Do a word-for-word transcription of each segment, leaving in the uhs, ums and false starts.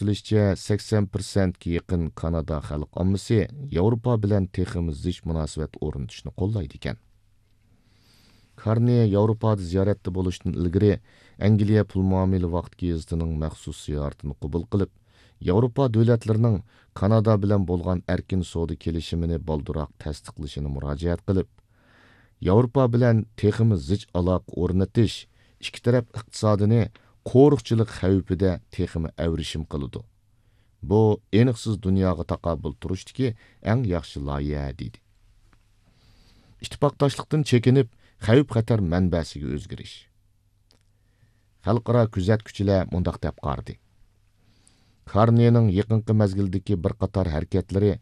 كۆرسىتىلىشىچە، سەكسەن پىرسەنتكە يېقىن كانادا خەلق ئاممىسى ياۋروپا بىلەن تېخىمۇ زىچ مۇناسىۋەت ئورنىتىشنى قوللايدىكەن. كارنى ياۋروپادا زىيارەتتە بولۇشتىن ئىلگىرى، ئەنگلىيە پۇل مۇئامىلە ۋاقتى گېزىتىنىڭ مەخسۇس زىيارىتىنى قوبۇل قىلىپ، ياۋروپا دۆلەتلىرىنىڭ كانادا بىلەن بولغان ئەركىن سودا كېلىشىمىنى بالدۇرراق تەستىقلىشىنى مۇراجىئەت قىلىپ، ياۋروپا بىلەن تېخىمۇ زىچ ئالاقە ئورنىتىش ئىككى تەرەپ ئىقتىسادىنى قورۇقچىلىق خەۋپىدە تېخىمۇ ئەۋرىشىم قىلىدۇ. بۇ ئېنىقسىز دۇنياغا تاقابىل تۇرۇشتىكى ئەڭ ياخشى لايىھە، دېدى. ئىتتىپاقداشلىقتىن چېكىنىپ، خەۋپ-خەتەر مەنبەسىگە ئۆزگىرىش. خەلقئارا كۆزەتكۈچىلەر مۇنداق دەپ قارىدى: كارنىنىڭ يېقىنقى مەزگىلدىكى بىر قاتار ھەرىكەتلىرى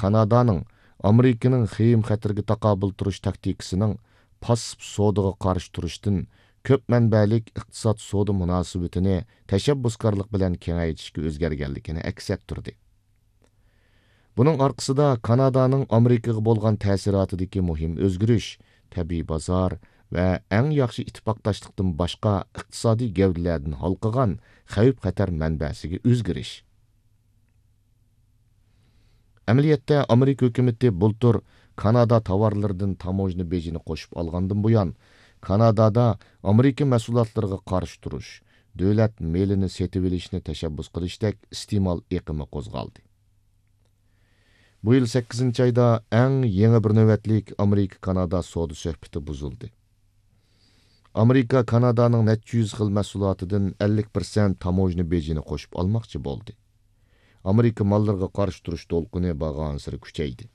كانادانىڭ ئامېرىكىنىڭ خېيىم-خەتىرىگە تاقابىل تۇرۇش تاكتىكىسىنىڭ پاسسىپ سودىغا قارشى تۇرۇشتىن كۆپ مەنبەلىك ئىقتىساد سودا مۇناسىۋىتىنى تەشەببۇسكارلىق بىلەن كېڭەيتىشكە ئۆزگەرگەنلىكىنى ئەكس ئەتتۈردى. بۇنىڭ ئارقىسىدا كانادانىڭ ئامېرىكىغا بولغان تەسىراتىدىكى مۇھىم ئۆزگىرىش، تەبىئىي بازار ۋە ئەڭ ياخشى ئىتتىپاقداشلىقتىن باشقا ئىقتىسادىي گەۋدىلەردىن ھالقىغان خەۋپ-خەتەر مەنبەسىگە ئۆزگىرىش. ئەمەلىيەتتە، ئامېرىكا ھۆكۈمىتى بۇلتۇر كانادا تاۋارلىرىدىن تاموژنا بېجىنى قوشۇپ ئالغاندىن بۇيان، كانادادا ئامېرىكا مەھسۇلاتلىرىغا قارشى تۇرۇش، دۆلەت مېلىنى سېتىۋېلىشنى تەشەببۇس قىلىشتەك ئىستېمال ئېقىمى قوزغالدى. بۇ يىل سەككىزىنچى ئايدا ئەڭ يېڭى بىر نۆۋەتلىك ئامېرىكا-كانادا سودا سۆھبىتى بۇزۇلدى. ئامېرىكا كانادانىڭ نەچچە يۈز خىل مەھسۇلاتىدىن ئەللىك پىرسەنت تاموژنا بېجىنى قوشۇپ ئالماقچى بولدى. ئامېرىكا ماللىرىغا قارشى تۇرۇش دولقۇنى بارغانسېرى كۈچەيدى.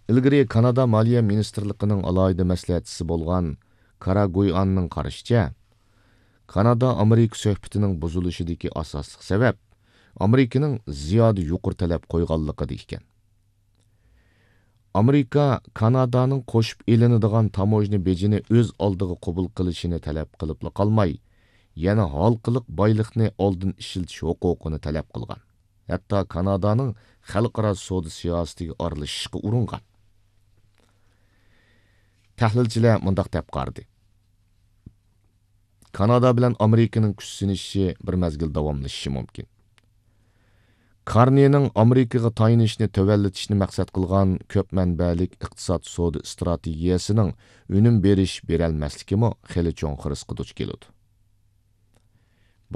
ئىلگىرى كانادا مالىيە مىنىستىرلىقىنىڭ ئالاھىدە مەسلىھەتچىسى بولغان كارا گۇيئاننىڭ قارىشىچە، كانادا-ئامېرىكا سۆھبىتىنىڭ بۇزۇلۇشىدىكى ئاساسلىق سەۋەب ئامېرىكىنىڭ زىيادە يۇقىرى تەلەپ قويغانلىقىدا ئىكەن. ئامېرىكا كانادانىڭ قوشۇپ ئېلىنىدىغان تاموژنا بېجىنى ئۆز ئالدىغا قوبۇل قىلىشىنى تەلەپ قىلىپلا قالماي، يەنە ھالقىلىق بايلىقنى ئالدىن ئىشلىتىش ھوقۇقىنى تەلەپ قىلغان. ھەتتا كانادانىڭ خەلقئارا سودا سىياسىتىگە ئارىلىشىشقا ئۇرۇنغان. تەھلىلچىلەر مۇنداق دەپ قارىدى: كانادا بىلەن ئامېرىكىنىڭ كۈچ سىنىشىشى بىر مەزگىل داۋاملىشىشى مۇمكىن. كارنىنىڭ ئامېرىكىغا تايىنىشنى تۆۋەنلىتىشنى مەقسەت قىلغان كۆپ مەنبەلىك ئىقتىساد سودا ئىستراتېگىيەسىنىڭ ئۈنۈم بېرىش، بېرەلمەسلىكىمۇ خېلى چوڭ خىرىسقا دۇچ كېلىدۇ.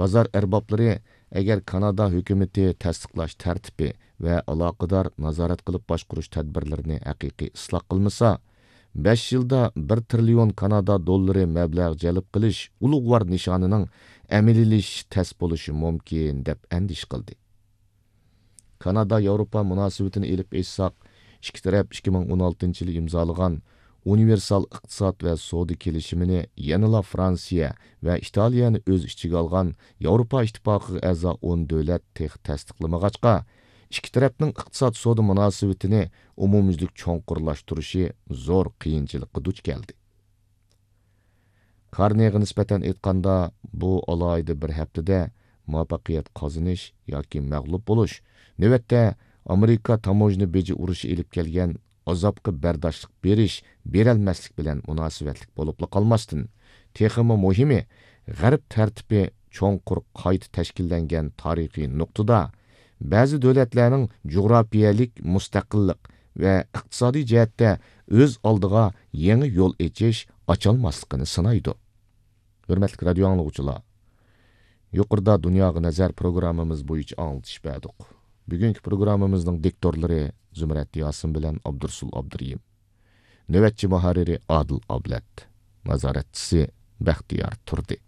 بازار ئەربابلىرى، ئەگەر كانادا ھۆكۈمىتى تەستىقلاش تەرتىپى ۋە ئالاقىدار نازارەت قىلىپ باشقۇرۇش تەدبىرلىرىنى ھەقىقىي ئىسلاھ قىلمىسا، بەش يىلدا بىر تىرىليون كانادا دوللىرى مەبلەغ جەلپ قىلىش ئۇلۇغۋار نىشانىنىڭ ئەمەلىيلىشىشى تەس بولۇشى مۇمكىن، دەپ ئەندىشە قىلدى. كانادا-ياۋروپا مۇناسىۋىتىنى ئېلىپ ئېيتساق، ئىككى تەرەپ ئىككى مىڭ ئون ئالتىنچى يىلى ئىمزالىغان ئۇنىۋېرسال ئىقتىساد ۋە سودا كېلىشىمىنى يەنىلا فرانسىيە ۋە ئىتالىيەنى ئۆز ئىچىگە ئالغان ياۋروپا ئىتتىپاقىغا ئەزا ئون دۆلەت تېخى تەستىقلىمىغاچقا، ئىككى تەرەپنىڭ ئىقتىساد سودا مۇناسىۋىتىنى ئومۇميۈزلۈك چوڭقۇرلاشتۇرۇشى زور قىيىنچىلىققا دۇچ كەلدى. كارنېغا نىسبەتەن ئېيتقاندا، بۇ ئالاھىدە بىر ھەپتىدە مۇۋەپپەقىيەت قازىنىش ياكى مەغلۇپ بولۇش، نۆۋەتتە ئامېرىكا تاموژنا بېجى ئۇرۇشى ئېلىپ كەلگەن ئازابقا بەرداشلىق بېرىش، بېرەلمەسلىك بىلەن مۇناسىۋەتلىك بولۇپلا قالماستىن، تېخىمۇ مۇھىمى، غەرب تەرتىپى چوڭقۇر قايتا تەشكىللەنگەن تارىخىي نۇقتىدا، بەزى دۆلەتلەرنىڭ جۇغراپىيەلىك مۇستەقىللىق ۋە ئىقتىسادىي جەھەتتە ئۆز ئالدىغا يېڭى يول ئېچىش، ئاچالماسلىقىنى سىنايدۇ. ھۆرمەتلىك رادىيو ئاڭلىغۇچىلار، يۇقىرىدا دۇنياغا نەزەر پروگراممىمىز بويىچە ئاڭلىتىش بەردۇق. بۈگۈنكى پروگراممىمىزنىڭ دىكتورلىرى زۇمرەت ياسىن بىلەن ئابدۇرسۇل ئابدۇرېھىم. نۆۋەتچى مۇھەررىرى ئادىل ئابلەت. نازارەتچىسى بەختىيار تۇردى.